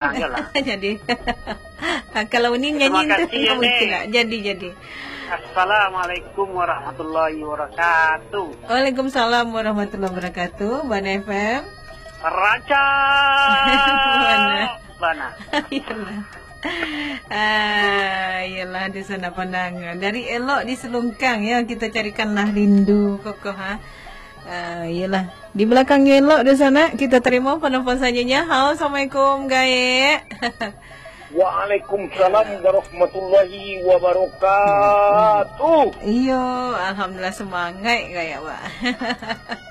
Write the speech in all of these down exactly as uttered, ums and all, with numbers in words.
Ah, iyalah. Jadi, kalau Unin Terima nyanyi tu, kasih, nggak mungkin Nek. lah. Jadi, jadi. Assalamualaikum warahmatullahi wabarakatuh. Waalaikumsalam warahmatullahi wabarakatuh. Bana F M. Raja. Bana. Bana. Iyalah. Ah, iyalah, di sana pandang. Dari elok di Selungkang, ya, kita carikanlah rindu kokoh, ha. Ah, iyalah. Di belakangnya elok di sana, kita terima penelpon selanjutnya. Halo, assalamualaikum, Gaek. Waalaikumsalam warahmatullahi wabarakatuh. Iyo, alhamdulillah, semangat Gaek, Wak.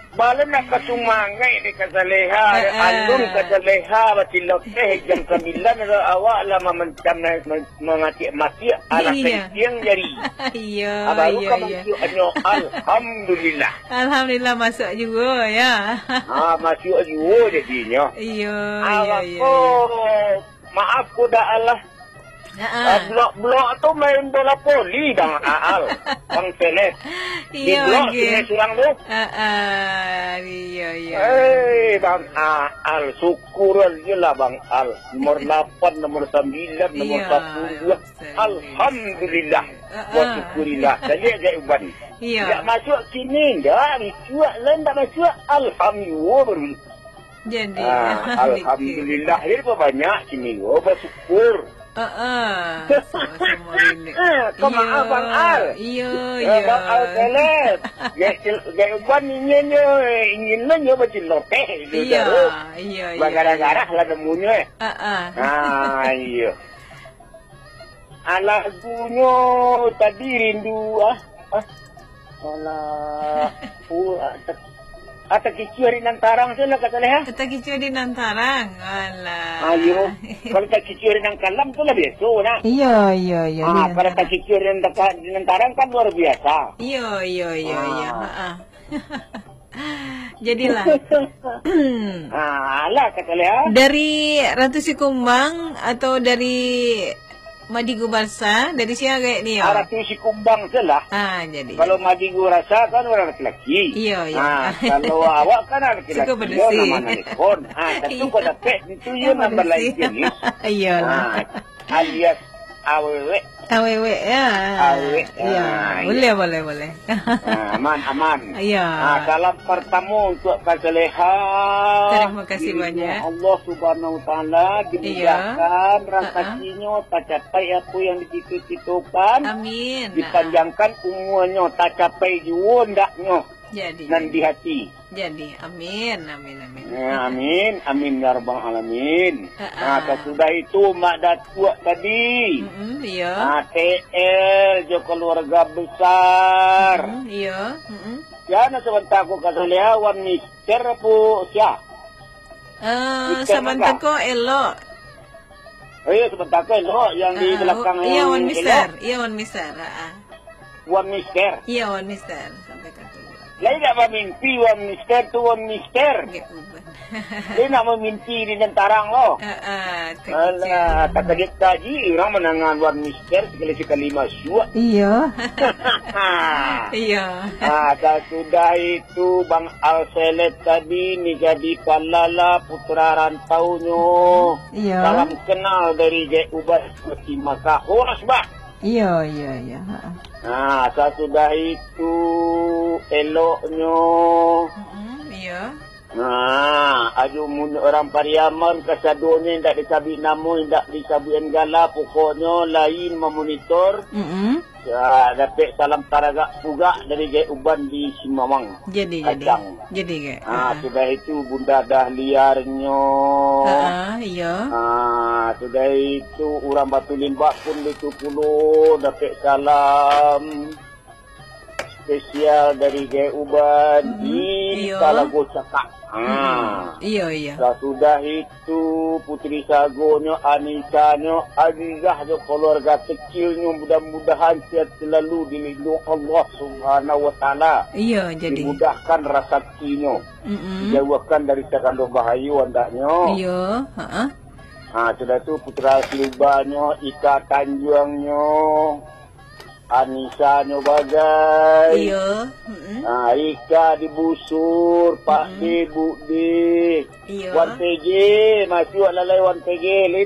Bala nak ka sumangaik dek Kak Saleha, Heeh. alun Kak Saleha, bacilok teh jam sambilan, awak lah mamancam, mamatik-matik, alah Iya. penting jari. Iyo, Ah, baru iyo, ka iyo. masuak nyo, alhamdulillah. Alhamdulillah, masuk juo, ya. Ah, masuk juo jadinyo. Iyo, iyo, Awak iyo, ko iyo. Maaf, ku dak alah. Ha-ha. Ah, blok-blok tu main bola voli, Bang Aal. Bang Seleb. Di Iyo, blok oke. sungai surang tu. Ha-ha. Iyo, iyo. Eh, Bang Aal, syukur aja lah, Bang Al. Nomor lapan, nomor sambilan, nomor Iyo, sapuluah. Alhamdulillah. Ha-ha. Wa syukurillah. Caliak Gaek Uban. Iyo. Ndak masuk kini, ndak. Ricuak lah, ndak masuk. Alhamdulillah baru. Jadi, Ah, alhamdulillah. Jadi, banyak kini, oh, bersyukur. Heeh, sama-sama rindu. Eh, kau maaf, Bang Al. Iyo, Eh, iyo. Bang Al Seleb. Gaek Sel-, Gaek Uban ingin nyo, ingin nyo bacilok teh, itu Iyo, taruh. iyo, iyo, Bagarah-garah iyo. lah nemunyo, eh. Heeh. Ah, iyo. Ah, lagunyo tadi rindu, ah. Ah. Alah. Uh, ah, tak-, ah, takicua di nan tarang tu lah, Kak Saleha. Takicua di nan tarang. Alah. Ah, iyo. Kalau takicua di nan kalam tu lah biaso, nah. Iyo, iyo, iyo, Ah, di nan kalau tarang. takicua di nan teka-, di nan tarang kan luar biasa. Iyo, iyo, iyo, iyo. Ah. Ha-ah. Jadilah. Ah, alah, Kak Saleha. Dari Ratu Sikumbang atau dari Madigu Barsa, dari sia Gaek ni, yo? Ah, Ratu Sikumbang tu lah. Ah, jadi. Kalau Madigu Barsa kan urang laki-laki. Iyo, iyo. Ah, kalau awak kan laki-laki, Suka yo, padusi. nama anak lekon. Ah, tentu Iyo. kau dapek, tentu yo Yang nambah padusi. lain jenis. Iyolah. Ah, alias awewek. Awewek, ya. Awewek. Ya, Ah, boleh, iya. boleh, boleh. Ah, aman, aman. Iya. Ah, salam pertama untuk Kak Saleha. Terima kasih Dirinya banyak. Allah Subhanahu Wa Taala Iya. dimudahkan Ha-ha. rezekinya, tercapai apa yang dicita-citakan. Amin. Dipanjangkan umurnya, tercapai juo ndaknya Jadi, nan jadi. di hati. Jadi, amin, amin, amin. Ya, amin, amin ya rabbal alamin. Ha-ha. Nah, sasudah itu Mak Datuak tadi. Mm-mm, iya. Nah, T L jo keluarga besar. Mm-mm, iya. Mm-mm. Ya, nah, sabanta ko ka Saleha, Wan Mister apo sia? Eh, Mister sabanta Naga. ko elok. Oh iya, sabanta ko elok yang di Ah, belakang oh, iya, yang Wan elok. Mister. Iya, Wan Mister. Ha-ha. Wan Mister. Iya, Wan Mister. Sampai ka tu. Lai nak mamimpi Wan Mister tu, Wan Mister. Gaek Uban. Dia nak mamimpi di nan tarang lo. Ah, ah, tak Alah, kira. tak kaget kaji orang manangan Wan Mister sekali-sekali masuk. Iya. Iya. Ah, sasudah itu Bang Al Seleb tadi ni jadi palala putra rantaunyo. Iya. Salam kenal dari Gaek Uban di Makkah. Horas, Bah. Iya, iya, iya. Ha. Nah, sasudah itu, eloknyo. Mm-mm, iya. Nah, aju mun urang Pariaman, kasadonyo indak disabuik namo, indak disabuik gala, pokoknyo lain mamonitor. Mm-mm. Ya, dapek salam taragak pugak dari Gaek Uban di Simawang. Jadi, jadi. Kacang. Jadi, Gaek. Ah, Ah. sudah itu Bunda Dahliarnyo. Ah, iya. Ah, sudah itu urang Batu Limbak pun itu pulo dapek salam spesial dari Gaek Uban Mm-mm, di iya. Talago Cakak. Ah. Mm-mm. Iya, iya. Sudah itu Putri Sagonyo, Anisanyo, Azizah jo keluarga kecilnyo, mudah-mudahan sehat selalu dilindungi Allah Subhanahu Wa Taala. Iya, jadi. Dimudahkan rasakinyo. Mm-mm. Dijauhkan dari sagalo bahayo andaknyo. Iya, ha-ah. Ha, sudah tu Putra Silubanyo, Ika Tanjuangnyo. Anisa nyo bagai. Iyo. Mm-mm. Ah, Ika di Busur, Pak Mm-mm. D, Bu D. Iyo. Wan P G, masih awak lalai Wan P G. Lai